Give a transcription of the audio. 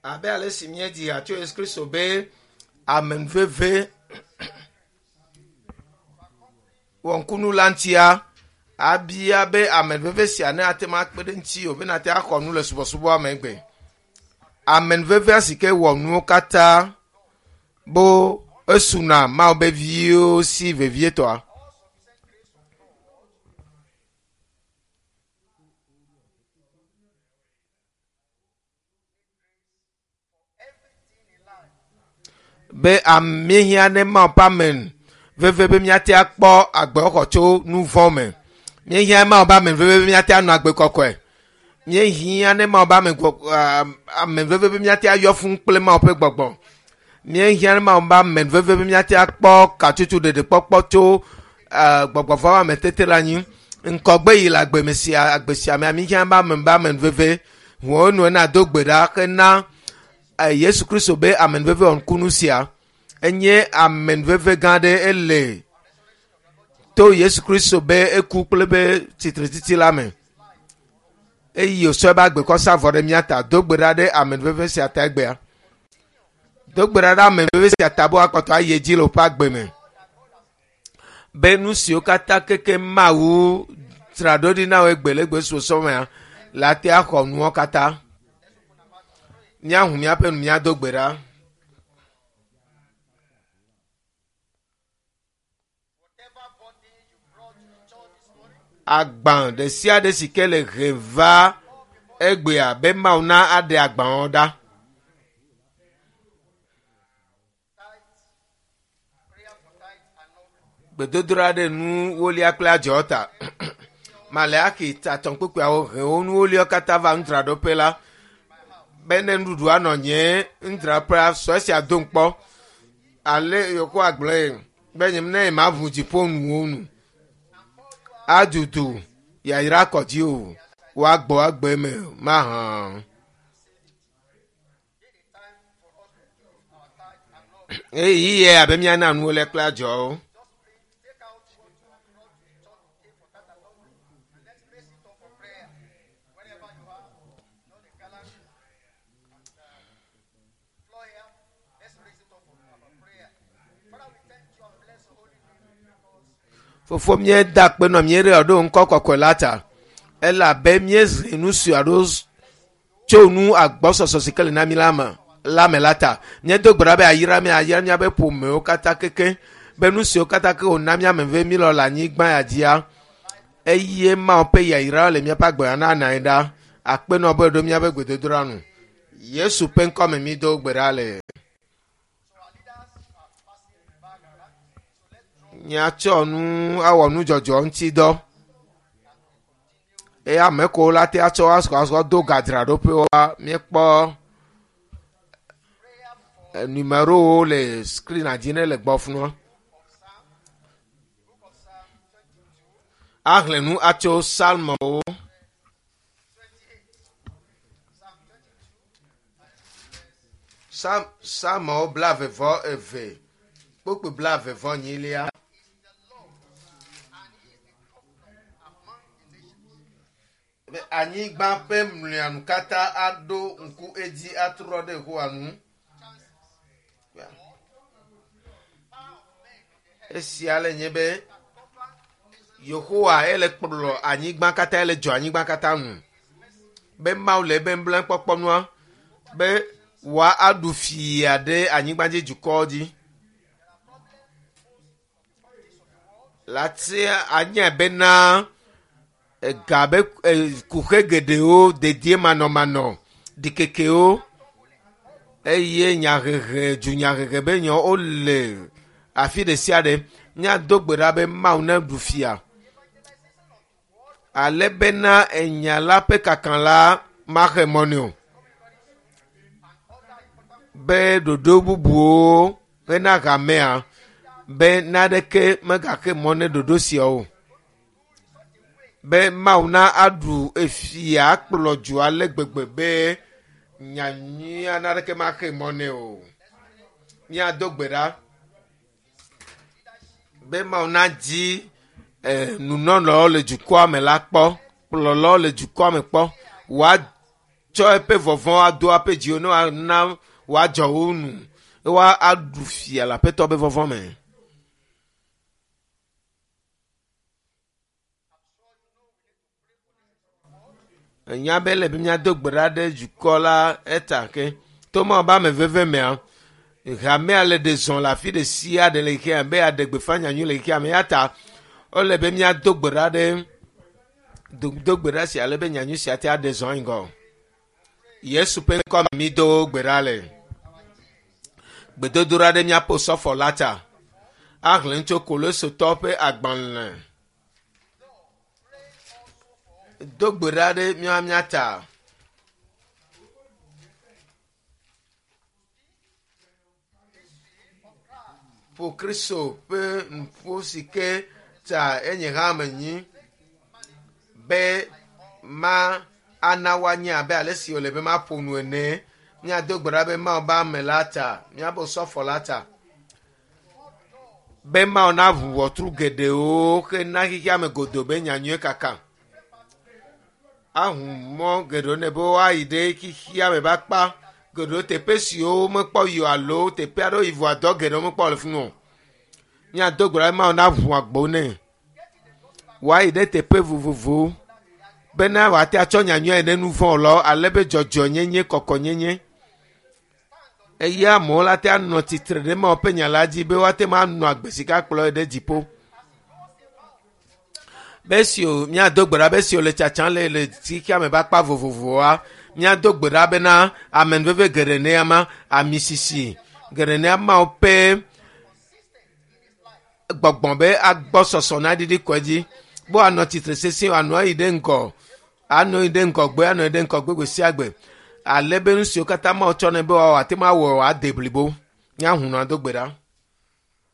Abe ale si míedzi ha tso Yesu Kristo be amenuveve wɔŋkunu la ŋutia, abia be amenuveve sia ne ate ŋu akpe ɖe ŋutiwò be nate axɔ nu le subɔsubɔa me gbe. Amenuvevea si ke wɔ nuwo katã bo esuna Mawu be viwo si vevietɔa. Be míehiã ne Mawu ƒe amen veve be míate akpɔ agbexɔ tso nu vɔ̃ me. Míehiã Mawu ƒe amen veve be míate anɔ agbe kɔkɔe. Míehiã ne Mawu ƒe amen amen veve be míate ayɔ fũu kple Mawu ƒe gbɔgbɔ. Míehiã ne Mawu ƒe amen veve be míate akpɔ katsotso ɖeɖekpɔkpɔ tso gbɔgbɔ vɔ̃ ame tete le anyi. Ŋkɔgbe yi le agbe me sia agbe sia mea míehiã be amen be amen veve. Ʋuwo nu ena do gbe ɖa hena Yesu Kristo be amenuveve wɔnukunu sia. Enye amenuveve gã aɖe ele to Yesu Kristo be eku kple be tsitretsitsi la me. Eye wòtsɔ eƒe agbe kɔ sa vɔ ɖe mía ta. Do gbe ɖa ɖe amenuveve sia ta egbea. Do gbe ɖa ɖe amenuveve sia ta be woakpɔtɔ ayi edzi le woƒe agbe me. Be nu siwo katã keke Mawu dzra ɖo ɖi na wò egbe le egbe sɔsɔ mea, le ate axɔ nuwo katã. Míahu míaƒe nu míado gbe ɖa. Agbã ɖe sia ɖe si ke le he va egbea be Mawu na aɖe agbawo ɖa. Gbedodoɖa ɖe nu wolia kple adzɔ ta. Maleaxi tatɔ kpekpeawo he wo nuwoliawo katã va nudzraɖoƒe la be ne nuɖuɖu anɔ nye nudzraɖoƒea sɔ esia dom kpɔ. Ale Yehowa gblɔe be nye ne maʋu dziƒo nuwo nu adudu yayra kɔ dzi o woagbɔ agbe me mahã. Eye yɛ abe míana nuwo le kple adzɔwo. Fofo míeda akpe nɔ míeɖe ɖo ŋkɔ kɔkɔe la ta elabe míezi nu si alo tso nu agbɔsɔsɔ si ke le na mí la me la me la ta. Míedo gbe ɖa be ayra mí ayra míaƒe ƒomewo katã keke be nu siwo katã ke wòna mía ame ve mílɔ le anyigba ya dzia eye Mawu ƒe yayra le míaƒe agbe na anɔ anyi ɖa. Akpe nɔ be ɖo míaƒe gbedodoɖa nu. Yesu ƒe ŋkɔ me mído gbe ɖa le. Míatsɔ nu awɔ nudzɔdzɔ ŋuti dɔ eye ame kewo la te atsɔ asɔ do gadzraɖoƒewoa, míekpɔ numerowo le skrina dzi ne le gbɔ funua. Ahlẽ nu atso Psalmowo. Psalmowo 22, kpukpui 24. Be anyigba ƒe mlɔenu katã aɖo ŋku edzi atrɔ ɖe Yehowa ŋu. Esia le nye be Yehowa ele kplɔ anyigba katã, ele dzɔ anyigba katã nu. Be Mawu le ebe nublanuikpɔkpɔ nua be wòaɖu fia ɖe anyigba dzi dukɔwo dzi. Latia anya bena ega be kuxe geɖewo, dediemanɔmanɔ, ɖikekewo eye nyahehe, dunyahehe be nyawo wole afi ɖe sia ɖe. Míado gbe ɖa be Mawu neɖu fia ale bena enya la ƒe kaka la maxe mɔ nɛ o. Be ɖoɖo bubuwo hena hamea be naneke megaxe mɔ ne ɖoɖo siawo o. Be Mawu na aɖu efia akplɔ du ale gbegbe be nyanyuia naneke maxe mɔ nɛ o. Míado gbe ɖa be Mawu nadzi nunɔlawo le dukɔa me la kpɔ, kplɔlawo le dukɔa me kpɔ. Tsɔ eƒe vɔvɔ̃ ado aƒe dziwo ne woana woadzɔ wo nu eye woaɖu fia le aƒetɔ be vɔvɔ̃ me. Enya be ele be míado gbe ɖa ɖe dukɔ la eta ke to Mawu be ame veve mea, hamea le ɖe zɔ le afi ɖe sia ɖe le xexea be yeaɖe gbeƒã nyanyui le xexea me ya ta ele be míado gbe ɖa ɖe do gbe ɖa sia ale be nyanyui sia te aɖe zɔ ŋgɔ. Yesu ƒe ŋkɔ me mído gbe ɖa le. Gbedodoɖa ɖe míaƒe osɔfo la ta. Ahlẽ tso Kolosotɔ ƒe agbalẽ. Do gbe ɖa ɖe mía mía ta. Ƒo Kristo ƒe nuƒo si ke ta enye hã menyi be ma ana woanye abe ale si wòle be maƒo nu ene. Míado gbe ɖa be Mawu be ame la ta, míaƒe osɔfo la ta. Be Mawu naʋu ʋɔtru geɖewo hena xexea me godoo be nyanyuie kaka. Aʋu mɔ geɖewo nɛ be woayi ɖe xexea me ƒe akpa geɖewo teƒe siwo womekpɔ yi o alo teƒe aɖewo yi vɔa dɔ geɖewo mekpɔ le fi mi o. Míado gbe ɖa be Mawu naʋu agbo nɛ. Woayi ɖe teƒe vovovowo bena wòate atsɔ nyanyuia yi ɖe nu vɔ̃ wɔlawo ale be dzɔdzɔenyenye, kɔkɔnyenye eye amewo la te anɔ tsitre ɖe Mawu ƒe nya la dzi be woate ŋu anɔ agbe si ke akplɔ ye ɖe dziƒo. Be esi wo míado gbe ɖa be esi wòle tsatsam le le xexea me ƒe akpa vovovoa, míado gbe ɖa bena amenuveve geɖe ne ama, ami sisi geɖe ne Mawu ƒe gbɔgbɔ be agbɔsɔsɔ naɖiɖi kɔ edzi be woanɔ tsitre sesĩe wòanɔ ayi ɖe ŋgɔ anɔ yi ɖe ŋgɔgbe anɔ yi ɖe ŋgɔgbe gbe sia gbe ale be nu siwo katã Mawu tsɔ nɛ be wòawɔ ate ŋu awɔ wòade blibo. Míahu nua do gbe ɖa.